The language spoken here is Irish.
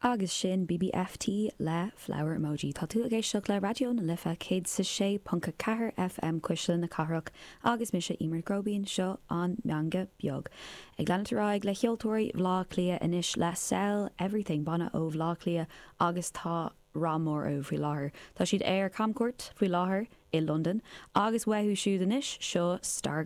Agus sin BBFT le Flower Emoji. Tá tú ag éisteacht le Raidió na Life 106.4 FM Cuisle na Cathrach agus mise Emer Gróibín, seo an Meangadh Beag. Ag leanúint ar aghaidh le ceoltóirí Bhaile Átha Cliath anois le Sell Everything, banna ó Bhaile Átha Cliath agus tá rath mór orthu faoi láthair. Tá siad ar camchuairt faoi láthair i Londain agus uathu siúd anois, seo Star.